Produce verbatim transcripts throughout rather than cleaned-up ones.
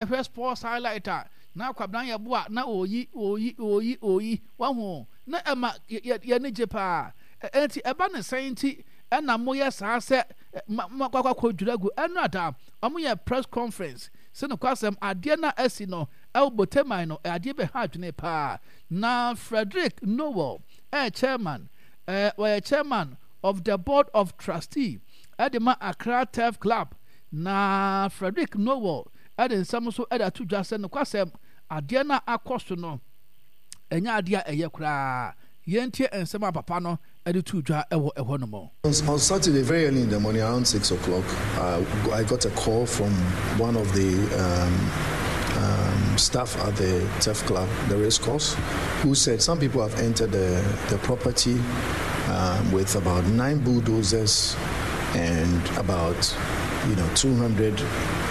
Hwɛ sports highlight a na Kwabena Yeboah na ɔreyi, ɔreyi, ɔreyi, ɔreyi. Wahu? Na ɛma yɛn ani gye paa. Enti ɛba no sɛn nti na moyɛ saa sɛ moakɔ akɔdwiri agu? Ɛno ada, wɔyɛ press conference sɛ nokwasɛm adeɛ no a asi no wɔ Boteman no, adeɛ bɛha adwene paa. Na Frederick Nowell ɛyɛ chairman, ɔyɛ chairman of the board of trustee de ma Accra Turf Club. Na Frederick Nowell de nsɛm nso de ato dwa sɛ nokwasɛm, adeɛ no a akɔ so no, ɛnyɛ adeɛ a ɛyɛ koraa. Yɛntie nsɛm a papa no de too dwa wɔ ɛhɔ nom. On Saturday, very early in the morning, around six o'clock, uh, I got a call from one of the um, um, staff at the Turf Club, the race course, who said some people have entered the, the property um, with about nine bulldozers and about you know two hundred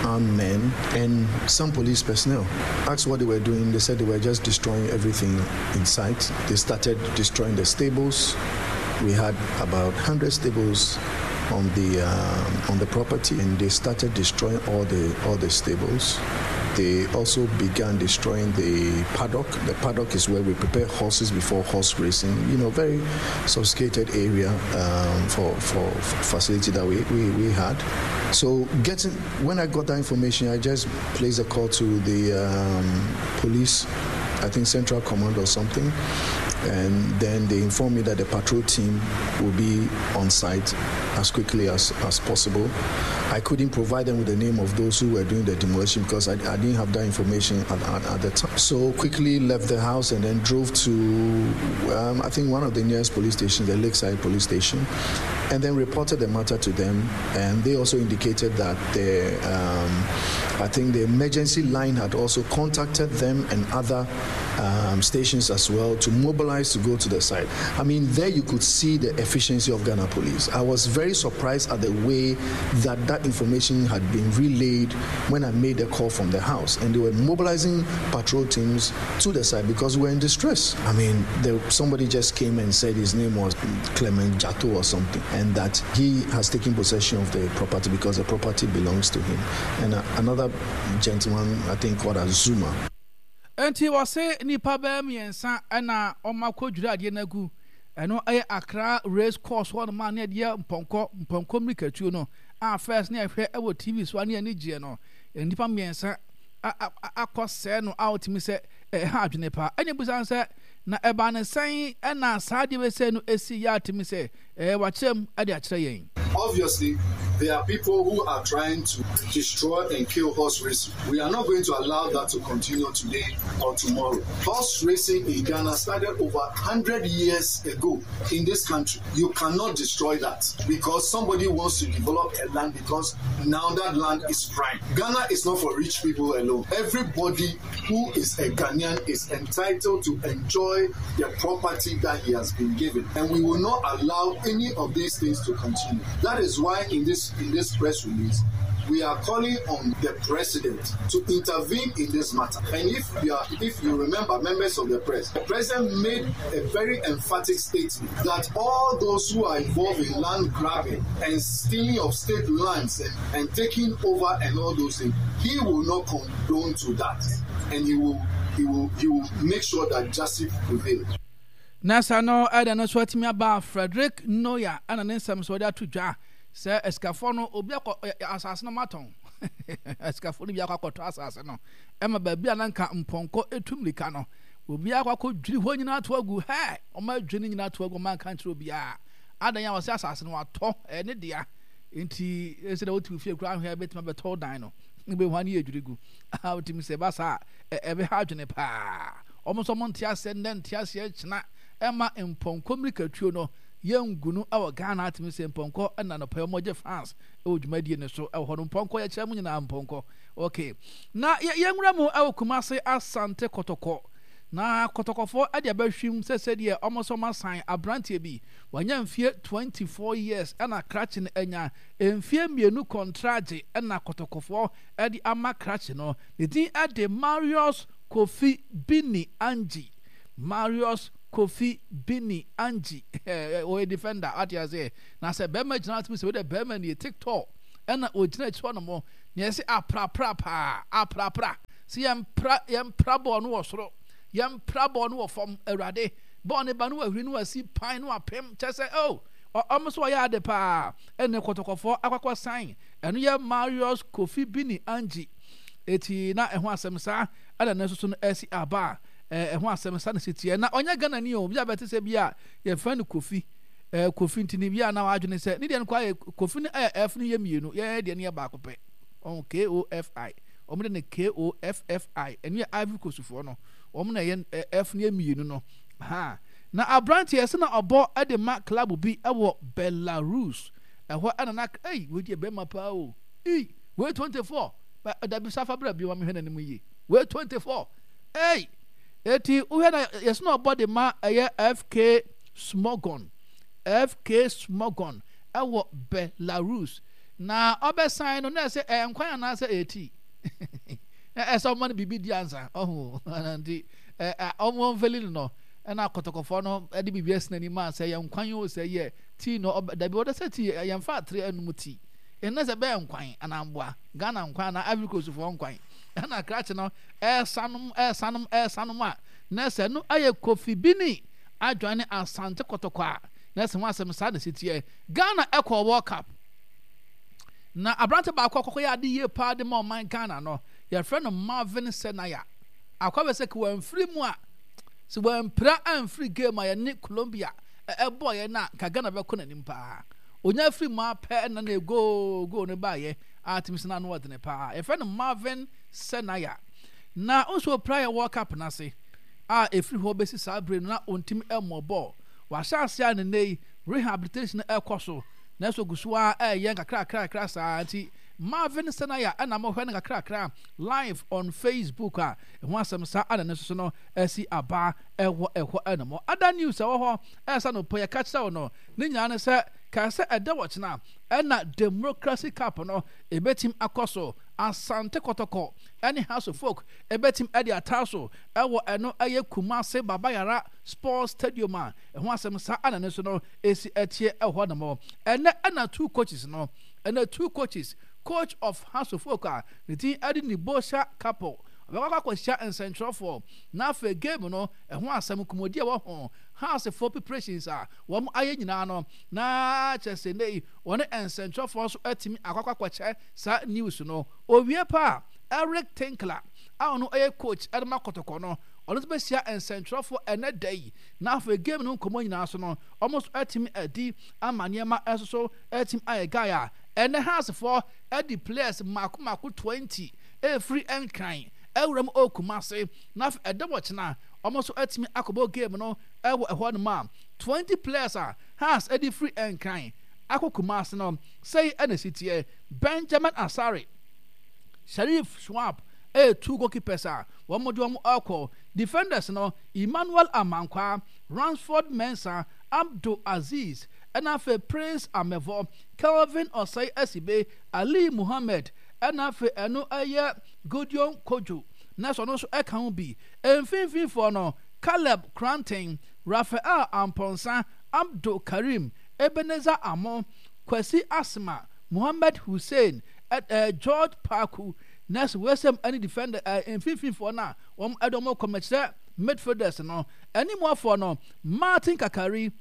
armed men and some police personnel. Asked what they were doing, they said they were just destroying everything in sight. They started destroying the stables. We had about one hundred stables on the um, on the property, and they started destroying all the all the stables. They also began destroying the paddock. The paddock is where we prepare horses before horse racing. You know, very sophisticated area um, for, for facility that we, we, we had. So getting when I got that information, I just placed a call to the um, police, I think Central Command or something, and then they informed me that the patrol team will be on site as quickly as, as possible. I couldn't provide them with the name of those who were doing the demolition because I, I didn't have that information at, at, at the time. So quickly left the house and then drove to, um, I think, one of the nearest police stations, the Lakeside Police Station, and then reported the matter to them. And they also indicated that the, um, I think the emergency line had also contacted them and other um, stations as well to mobilize to go to the site. I mean, there you could see the efficiency of Ghana Police. I was very surprised at the way that that information had been relayed when I made the call from the house. And they were mobilizing patrol teams to the site because we were in distress. I mean, there, somebody just came and said his name was Clement Jato or something, and that he has taken possession of the property because the property belongs to him. And uh, another gentleman, I think called Azuma. Nti wɔse nnipa bɛyɛ mmiɛnsa ɛna wɔn akɔdwiri adeɛ no agu. Ɛno ɛyɛ Accra Race Course hɔ nom a ne yɛde mpɔnkɔ mpɔnkɔ mmirikatuo no a first ne yɛhwɛ ɛwɔ T V so a ne yɛni gyeɛ no. Nnipa mmiɛnsa akɔ sɛɛ no a wotumi sɛ ɛha adwene paa. Ɛna ebusa sɛ na ɛbaa ne sɛn ɛna saa adeɛ bɛsɛ no esi yɛ atumi sɛ ɛɛ wakyerɛ mu ɛde akyerɛ yɛn. Obviously, there are people who are trying to destroy and kill horse racing. We are not going to allow that to continue today or tomorrow. Horse racing in Ghana started over one hundred years ago in this country. You cannot destroy that because somebody wants to develop a land, because now that land is prime. Ghana is not for rich people alone. Everybody who is a Ghanaian is entitled to enjoy the property that he has been given. And we will not allow any of these things to continue. That is why in this in this press release, we are calling on the president to intervene in this matter. And if you are, if you remember, members of the press, the president made a very emphatic statement that all those who are involved in land grabbing and stealing of state lands and, and taking over and all those things, he will not condone to that, and he will he will he will make sure that justice prevails. Na sa no ɛda no so atumi aba. Frederick Noya ɛna ne nsɛm so ɔde ato dwa sɛ asikafoɔ no obi akɔ asase no matɔn, asikafoɔ no bi akɔ akɔtɔ asase no ɛma baabi a nanka mpɔnkɔ etu mirika no, obi akɔ akɔ dwiri hɔ nyinaa ato agu. Hɛ, ɔmo adwiri no nyinaa ato agu. Ɔmo anka nkyerɛ obiara adan a wɔsɛ asase no watɔ ɛyɛ ne dea. Nti ɛsɛ dɛ wotu fie kura ahwɛ bɛtumi abɛtɔ dan no ebe hɔ ani yɛ dwiri gu a wotumi sɛ ɛba saa ɛbɛha adwene paa. Ɔmo nso ɔmo nte aseɛ nnɛ, nte aseɛ kyena ɛma mpɔnkɔ mmirikatuo no yɛngu no ɛwɔ Ghana. Atumi sɛ mpɔnkɔ ɛna nɔpɛ ɔmo gye fans ɛwɔ dwumadie no so ɛwɔ hɔ no. Mpɔnkɔ yɛkyerɛ mu nyinaa mpɔnkɔ. Okay, na yɛnwura mu ɛwɔ Kumase Asante Kɔtɔkɔ na Kɔtɔkɔfoɔ ɛde abɛhwim sɛ sɛdeɛ ɔmo nso ɔmo asan aberanteɛ bi wanya mfie twenty-four years ɛna krakye no anya mfie mmienu kɔntragye ɛna Kɔtɔkɔfoɔ ɛde ama krakye no. Ne din ɛde Marius Kofi Bini Angie. Marius Kofi Bini Angie, ɔyɛ defender ate aseɛ. Na sɛ bɛrima gyina atumi sɛ wode bɛrima nie tiktok ɛna ogyina akyi hɔ nom. Na yɛsɛ aprapra paa, aprapra. Sɛ yɛmpra yɛmpra bɔɔl no wɔ soro, yɛmpra bɔɔl no wɔ fam, Awurade. Bɔɔl no ba no wahuri no wasi pan no apem kyɛ sɛ oh, ɔmo so ɔyɛ ade paa. Ɛne Kɔtɔkɔfoɔ akɔkɔ san. Ɛno yɛ Marius Kofi Bini Angie. Eti na ɛho asɛm saa ɛna ne nso so no ɛsi aba a ɛho asɛm saa na si teɛ. Na ɔnyɛ Ghana ni o, bi a bɛte sɛ bi a yɛfrɛ no Kofi. Eh, Kofi nti ne bi a na wadwene sɛ ne deɛ no kɔ ayɛ Kofi no ɛyɛ F no yɛ mmienu, yɛn deɛ no yɛ baako pɛ. Ɔn K O F I. Wɔn de no K O F F I. Ɛno yɛ Ivory Coast foɔ no. Wɔn na ɛyɛ F no yɛ mmienu no. Ha. Na aberanteɛ sɛ na ɔbɔ de ma club bi wɔ Belarus. Ɛhɔ ɛna na ei wei deɛ bɛrima paa o. Ei wei twenty-four. Dabi safa bra bi ma mehwɛ n'anim yie. Wei twenty-four. Ei eti wohwɛ na yɛsɛ na ɔbɔ de ma ɛyɛ F K Smogon. F K Smogon ɛwɔ Belarus. Na ɔbɛsan no na ɛsɛ ɛyɛ nkwan anaasɛ ɛyɛ tii. Ɛsɛ ɔma no biribi di ansa ɔho nti ɔmo mfeli no no ɛna akɔtɔkɔfoɔ no ɛde biribi asi n'anim a sɛ ɛyɛ nkwan o sɛ ɛyɛ tii no dabi wɔde sɛ tii yɛmfa atere anum tii ɛnna sɛ bɛyɛ nkwan anaa mboa Ghana nkwan anaa Ivory Coast foɔ nkwan ɛna krakye no ɛsanom ɛsanom ɛsanom a na sɛ no ɛyɛ Kofi Bini adwan ne Asante Kɔtɔkɔ a na sɛ ho asɛm saa na si teɛ. Ghana ɛkɔɔ World Cup na aberante baako akɔkɔ yɛ ade yie paa de ma ɔman Ghana no yɛfrɛ no Marvin Senaya. Akɔ bɛ sɛ wɔamfiri mu a sɛ wɔampira amfiri game a yɛne Colombia ɛbɔɔ yɛn a nka Ghana bɛkɔ n'anim paa. Onya firi mu apɛ na na goal goal no baayɛ a tumi sɛ n'ano ɔdene paa. Yɛfrɛ no Marvin Senaya. Na nso opira yɛ World Cup n'ase a ɛfiri hɔ bɛsi saa bere no na ɔntumi mmɔ bɔɔl. Wahyɛ ase a ne nnɛ yi rehabilitation ɛkɔ so nanso ogu so ara ɛyɛ nkakrakrakra saa nti Marvin Senaya ɛna mohwɛ no nkakrakra live on Facebook a ɛho asɛm saa ana ne nso no asi aba ɛwɔ ɛhɔ ɛnom. Other news ɛwɔ hɔ ɛsa no pɔ yɛka kyerɛ wo no ne nyinaa ne sɛ kae sɛ ɛda wɔkyena ɛna Democracy Cup no ɛbɛtim akɔ so. Asante Kɔtɔkɔ ɛne House of Folk ɛbɛtim ɛde ataa so ɛwɔ ɛno ɛyɛ Kumase Baba Yara Sports Stadium a ɛho asɛm saa ana ne nso no esi ɛteɛ ɛwɔ hɔ nom. Ɛnɛ ɛna two coaches no ɛnɛ two coaches, coach of House of Folk a ne din ɛde Nibosha Couple ɔbɛkɔ akɔhyia nsɛntwerɛfoɔ na afei game no ɛho asɛm nkɔmmɔdi a ɛwɔ ho Housefoɔ preparations a wɔn ayɛ nyinaa no na kyerɛ sɛ nnɛ yi wɔne nsɛntwerɛfoɔ nso atumi akɔ akɔkyɛ saa news no. Owie pa a Eric Tinkler a ɔno ɛyɛ coach ɛde ma Kɔtɔkɔ no ɔno nso bɛhyia nsɛntwerɛfoɔ ɛnɛ da yi na afei game no nkɔmmɔ nyinaa so no wɔn nso atumi adi ama nneɛma nso so atumi ayɛ guy a ɛnɛ Housefoɔ ɛde players mako mako twenty ɛfiri Nkran ɛwura mu ɛwɔ Kumase na afei ɛda wɔkyena wɔn nso atumi akɔbɔ game no ɛwɔ ɛhɔ nom a twenty players a Hearts ɛde firi Nkran akɔ Kumase no sɛyi ɛna esi teɛ. Benjamin Asare, Sharif Schwab ɛyɛ two goalkeepers a wɔn de wɔn ɛkɔ. Defenders no Emmanuel Amankwa, Ransford Mensah, Abdul Aziz ɛna afei Prince Amevɔ, Kelvin Osei Asibe, Ali Muhammed ɛna afei ɛno ɛyɛ Gideon Kojo na sɛ ɔno nso ɛka ho bi. Mfimfinifoɔ no Caleb Kranten, Raphael Amponsa, Abdul Karim, Ebenezer Amo, Kwasi Asma, Mohammed Hussein, ɛ George Paku, na sɛ wɔasɛm ɛne defender ɛ mfimfinifoɔ no a wɔn ɛde wɔn kɔ mɛkyerɛ midfielders no animuafoɔ no Martin Kakari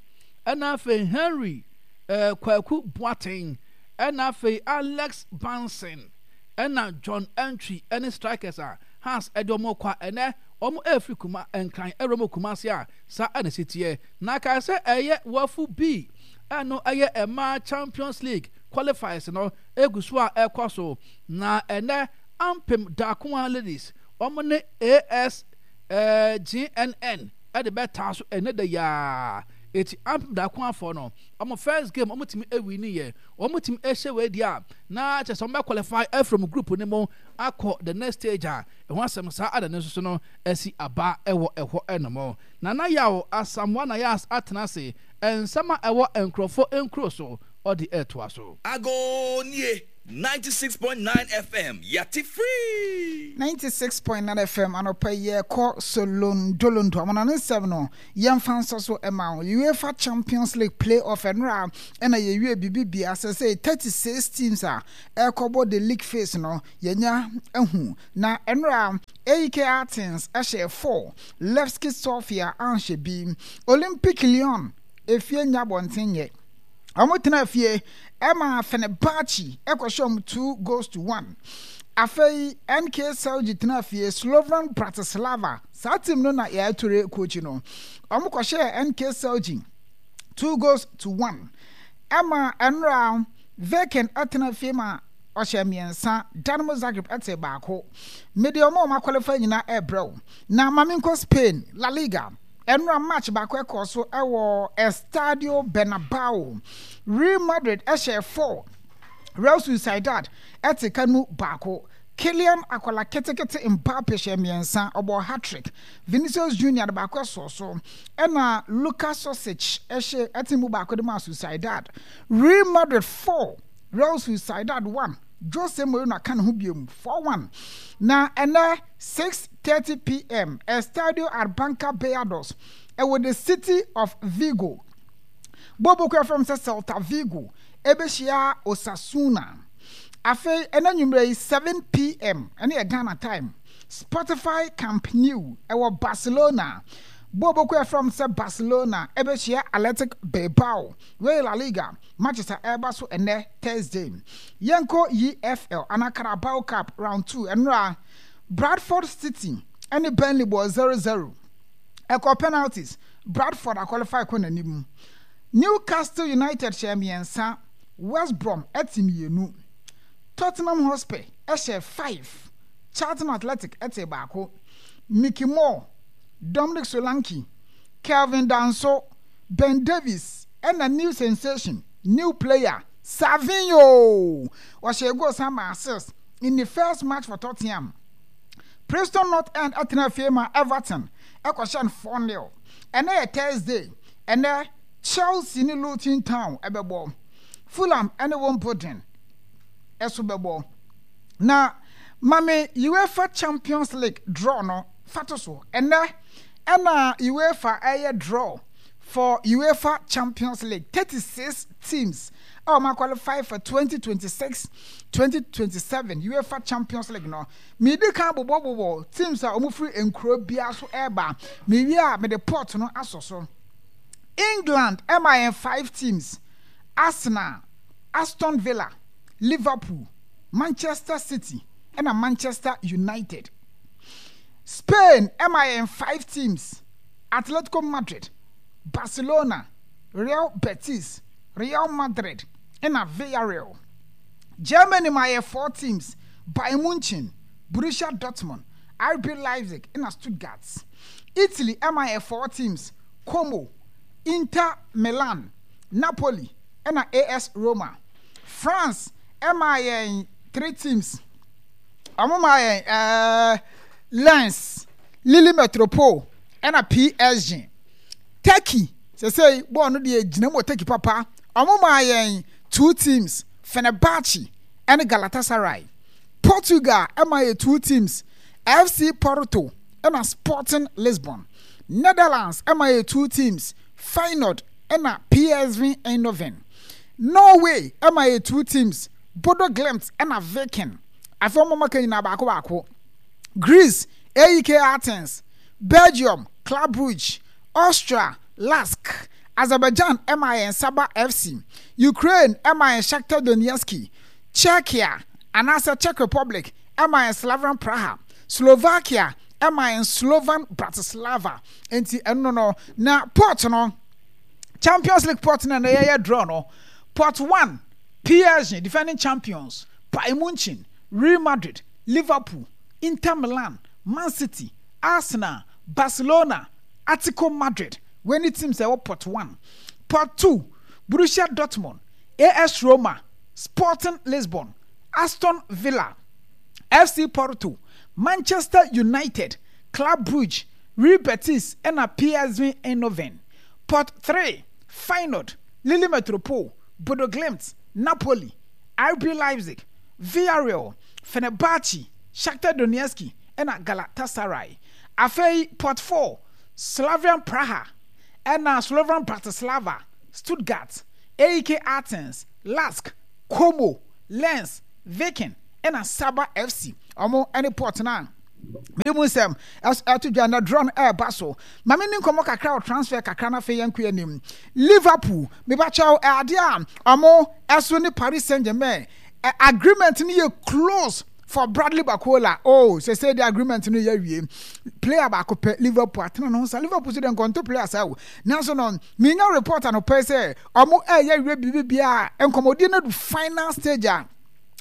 ɛna afei Henry ɛ Kwaku Boateng ɛna afei Alex Banson ɛna John Antwi ɛne strikers a Hearts ɛde wɔn kɔ a ɛnɛ wɔn ɛfiri kuma Nkran ɛwura mu Kumasi a saa ɛna si teɛ. Na kae sɛ ɛyɛ wafu B ɛno ɛyɛ mmaa Champions League qualifiers no egu so a ɛkɔ so na ɛnɛ Ampem Darkoa Ladies wɔn ne A S G N N ɛde bɛtaa so ɛnɛ da yaa eti Ampem Darkoafoɔ no wɔn first game wɔn tumi ɛwini yɛ wɔn tumi ɛhyɛ wei deɛ a na kyerɛ sɛ wɔn bɛ qualify ɛfiri group no mu akɔ the next stage a ɛho asɛm saa ada ne nso so no asi aba ɛwɔ ɛhɔ ɛnom. Nana Yaw Asamoah Nayas atena ase nsɛm a ɛwɔ nkurɔfoɔ nkuro so ɔde ɛtoa so. Ago nie, Ninety six point nine FM yate free. Ninety six point nine FM anɔpa yi yɛkɔ Solondolondo amana ne nsɛm no yɛmfa nsɔ so ma wo UEFA Champions League play-off ɛnora ɛna yɛwie biribi bia sɛ sɛ thirty six teams a ɛkɔbɔ the league phase no yɛnya ahu na ɛnora A E K Athens ɛhyɛ four Levski Sofia anhyɛ bi Olympic Lyon efie nya abɔnten nyɛ Wɔn tena fie ma Fenerbahce kɔhyɛ wɔn two goals to one. Afei N K Celje tena fie Slovan Bratislava, saa team no na Yaya Toure coach no. Wɔn kɔhyɛɛ N K Celje two goals to one. Ɛma ɛnora Viking tena fie ma ɔhyɛ mmiɛnsa, Dinamo Zagreb te baako. Mede wɔn a wɔn aqualify nyinaa ɛrebrɛ wo. Na ma menkɔ Spain, La Liga. Ɛnora match baako ɛkɔɔ so ɛwɔ Estadio Bernabao. Real Madrid ɛhyɛɛ four, Real Sociedad ɛte ka nu baako. Kylian Akwala ketekete Mbappe hyɛɛ mmiɛnsa, ɔbɔɔ hat-trick. Vinicius Junior de baako ɛsɔɔ so, ɛna Luka Susic ɛhyɛ ɛte mu baako de maa Sociedad. Real Madrid four, Real Sociedad one. Jose Mourinho aka ne ho biom, four one. Na ɛnɛ six thirty pm, Estadio Arbanca Beiados, ɛwɔ the city of Vigo. Bɔɔlbɔ kuo a yɛfrɛ no sɛ Celta Vigo ɛbɛhyia Osasuna. Afei ɛnɛ anwummerɛ yi seven pm, ɛno yɛ Ghana time, Spotify Camp Nou ɛwɔ Barcelona. Bɔɔlbɔ kuo a yɛfrɛ no sɛ Barcelona ɛbɛhyia Athletic Bilbao. Wei yɛ La Liga matches a ɛreba so ɛnɛ Thursday. Yɛnkɔ E F L anaa Carabao Cup round two ɛnora Bradford City ne Burnley bɔɔ zero zero. Ɛkɔɔ penalties, Bradford aqualify kɔ n'anim. Newcastle United hyɛɛ mmiɛnsa, West Brom te mmienu. Tottenham Hotspur hyɛɛ five, Charlton Athletic tee baako. Mickey Moore, Dominic Solanke, Kelvin Danso, Ben Davies ɛna new sensation, new player, Savinho! Ɔhyɛɛ goal san maa assist in ne first match for Tottenham. Preston North End tenaa fie maa Everton kɔhyɛɛ no four nil. Ɛnnɛ yɛ Thursday, ɛnnɛ Chelsea ne Luton Town bɛbɔ. Fulham ne Wimbledon nso bɛbɔ. Na ma me UEFA Champions League draw no fa to so. Ɛnnɛ ɛna UEFA ɛyɛ draw for UEFA Champions League thirty six teams a wɔn aqualify for twenty twenty six twenty twenty seven UEFA Champions League no. Medi kan bobɔbobɔ teams a wɔn firi nkuro biara so ɛreba. Mewie a mede pot no asɔ so. England ɛma yɛn five teams: Arsenal, Aston Villa, Liverpool, Manchester City ɛna Manchester United. Spain ɛma yɛn five teams: Atletico Madrid, Barcelona, Real Betis, Real Madrid, ɛna Villarreal. Germany ma yɛ four teams, Bayern Munchen, Borussia Dortmund, R B Leipzig, ɛna Stuttgart. Italy ɛma yɛ four teams, Como, Inter Milan, Napoli, ɛna A S Roma. France ɛma yɛn three teams. Wɔn ma yɛn ɛɛ Lens, Lille Metropole, ɛna P S G. Turkey, sɛsɛyi bɔɔl no deɛ gyina mu wɔ Turkey papa. Wɔn maa yɛn two teams, Fenerbahce ɛne Galatasaray. Portugal ɛma yɛ two teams, F C Porto ɛna Sporting Lisbon. Netherlands ɛma yɛ two teams, Feyenoord ɛna P S V Eindhoven. Norway ɛma yɛ two teams, Bodo Glimt ɛna Viking. Afei wɔn maka nyinaa baako baako. Greece, A E K Athens, Belgium, Club Brugge, Austria, Lask, Azerbaijan ɛma yɛn Sabah F C, Ukraine ɛma yɛn Shakhtar Donetsk, Czechia anaasɛ Czech Republic ɛma yɛn Slavian Praha, Slovakia ɛma yɛn Slovan Bratislava. Enti ɛno no, na pot no, Champions League pot no na yɛyɛ draw no, pot one, P S G, defending champions, Bayern Munchen, Real Madrid, Liverpool, Inter Milan, Man City, Arsenal, Barcelona, Atletico Madrid. Wei ne teams a ɛwɔ pot one. Pot two, Borussia Dortmund, A S Roma, Sporting Lisbon, Aston Villa, F C Porto, Manchester United, Club Brugge, Real Betis ɛna P S V Eindhoven. Pot three, Feyenoord, Lille Metropole, Bodo Glimt, Napoli, R B Leipzig, Villarreal, Fenerbahce, Shakhtar Donetsk ɛna Galatasaray. Afei pot four, Slavian Praha ɛna Slovan Bratislava, Stuttgart, A E K Athens, Lask, Como, Lens, Viking ɛna Saba F C. Ɔmo ɛne pot no a mede mu nsɛm ɛto dwa na draw no ɛreba so. Maame ni nkɔmmɔ kakra wɔ transfer kakra no, afei yɛnkɔ anim. Liverpool, mebakyɛw, adeɛ a ɔmo ɛso ne Paris Saint Germain agreement no yɛ close for Bradley Barcola. Oh, sɛ sɛ de agreement no yɛ awie, player baako pɛ Liverpool atena ne ho sa. Liverpool so de nkɔnto player saa o, nanso no minya report anɔpɛ sɛ ɔmo ɛyɛ awie biribi bia, nkɔmmɔdi no do final stage a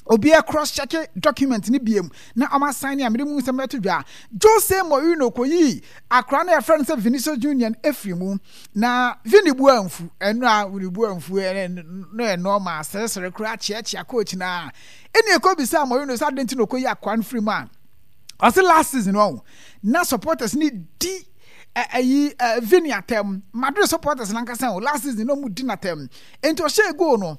obiara cross check document ni biem na ɔmo asan ne a mede mu nsɛm ɛto dwa. Jose Mourinho kɔyi akora no yɛfrɛ no sɛ Vinicius Junior efiri mu na Vini bu amfu ɛno a Vini bu amfu ɛno no yɛ normal, seresere koraa kyeakyea coach na ɛni ɛkɔ bisa Mourinho sɛ adi nti na ɔkɔyi akora no firi mu a, ɔsɛ last season ɔho na supporters ni di ɛyi Vini atɛm. Madrid supporters nankasa o, last season na ɔmo di n'atɛm, nti ɔhyɛ goal no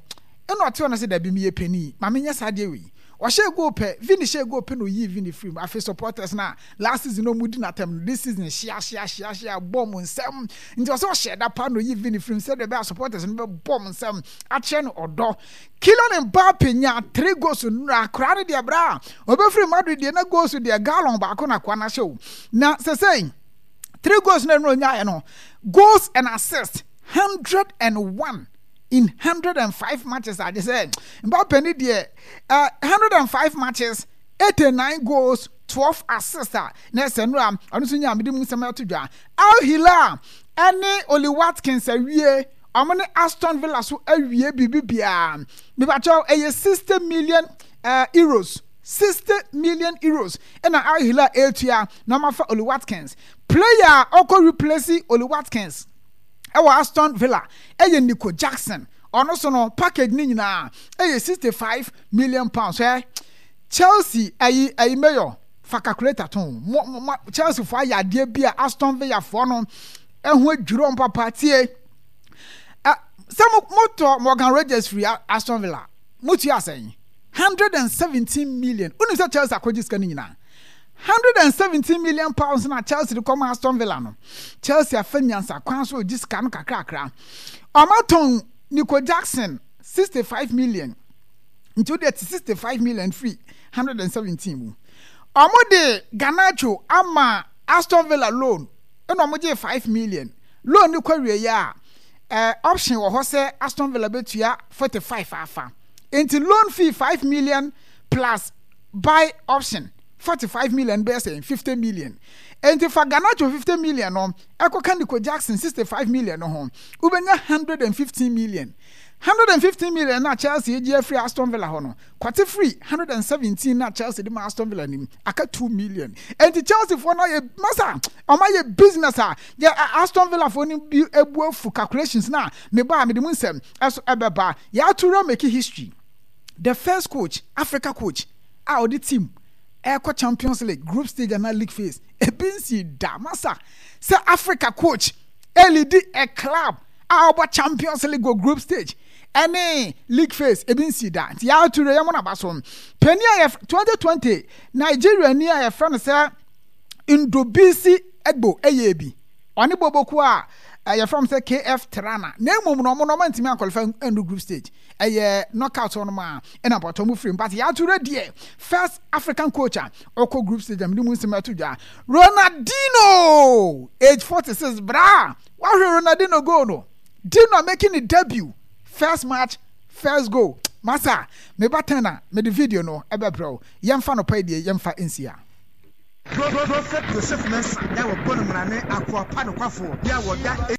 ɛna ɔte hɔ no sɛ dabi, meyɛ panin, maame nyɛ saa deɛ wei. Ɔhyɛ goal pɛ, Vini hyɛ goal pɛ na oyi Vini firi mu. Afei supporters na last season na ɔmo di n'atɛm no, this season hyia hyia hyia hyia bɔ mo nsɛm, nti ɔsɛ ɔhyɛ da pa na oyi Vini firi mu sɛdeɛ ɛbɛyɛ supporters no bɛ bɔ mo nsɛm akyerɛ no ɔdɔ. Kylian Mbappe nya three goals nura. Akora no deɛ, bra ɔbɛfiri Madrid deɛ na goals deɛ gallon baako na akoa no ahyɛ o, na sɛsɛn three goals na ɛnu onyaayɛ no, goals and assists hundred and one in hundred and five matches. Ade sɛ Mbappe ni deɛ, uh, hundred and five matches, eighty nine goals, twelve assists a na ɛsɛ no a ɔno nso nya amede mu nsɛm ɛto dwa. Al Hilal ɛne Oli Watkins awie, ɔmo ne Aston Villa so awie biribi biara. Mipakyɛw, ɛyɛ sixty million uh, euros, sixty million euros ɛna Al Hilal etua na ɔmo afa Oli Watkins. Player a ɔkɔ replace Oli Watkins ɛwɔ Aston Villa ɛyɛ Nico Jackson. Ɔno so no package ne nyinaa ɛyɛ sixty five million pounds. Ɛ Chelsea ɛyi ɛyi mayor fa calculator to mo mo. Chelsea fo ayɛ adeɛ bi a Aston Villa foɔ no ɛho adwiri wɔn papa. Tie ɛ, sɛ mo mo tɔ Morgan Rogers firi Aston Villa, mo tua asɛn hundred and seventeen million. Wonim sɛ Chelsea akɔgye sika no nyinaa, hundred and seventeen million pounds na Chelsea de kɔma Aston Villa no. Chelsea afa nyansa kwan so ogye sika no kakrakra. Ɔmatɔn Nico Jackson sixty five million, nti o de ti sixty five million firi hundred and seventeen mu. Ɔmo de Garnacho ama Aston Villa loan, ɛna ɔmo gye five million. Loan ne kɔ wie yɛ a, ɛɛ option wɔ hɔ sɛ Aston Villa bɛtua forty five afa, nti loan fee five million plus buy option forty five million bɛyɛ sɛ fifty million. Nti fa Garnacho fifty million no ɛkɔka Nico Jackson sixty five million no ho, wobɛnya hundred and fifteen million. Hundred and fifteen million na Chelsea egye afiri Aston Villa hɔ no, kwate firi hundred and seventeen na Chelsea de ma Aston Villa nim, aka two million. Nti Chelsea foɔ no ayɛ masa, ɔmo ayɛ business a yɛ Aston Villa foɔ no bi ebu afu. Calculations na meba a mede mu nsɛm ɛso ɛbɛba. Yɛato make history, the first coach, Africa coach a ɔde team ɛkɔ Champions League group stage ana league phase. Ebi nsi da masa sɛ Africa coach ɛlead a club a ɔbɔ Champions League wɔ group stage ɛne league phase, ebi nsi da. Nti yɛato yɛn mo naba so. Panyin a yɛ twenty twenty Nigeria ni a yɛfrɛ no sɛ Ndobisi Egbo ɛyɛ bi, ɔne Boboko a yɛfrɛ no sɛ K F Tirana, na emom no ɔmo no ɔmo ntumi anqualify ɛndu group stage, ɛyɛ knockout hɔ nom a ɛna mpɔtɔ mu firi mu. But yɛato deɛ first African coach a ɔkɔ group stage a mede mu nsɛm ɛto dwa. Ronaldinho, age forty six, bra wahwɛ Ronaldinho goal no. Dino making the debut, first match, first goal. Masa meba ten a mede video no ɛbɛbrɛ wo. Yɛmfa no pa deɛ, yɛmfa nsia. Prophet Joseph Mensah yà wɔ bɔ no mmarane akoa pa nokwafoɔ yà wɔda.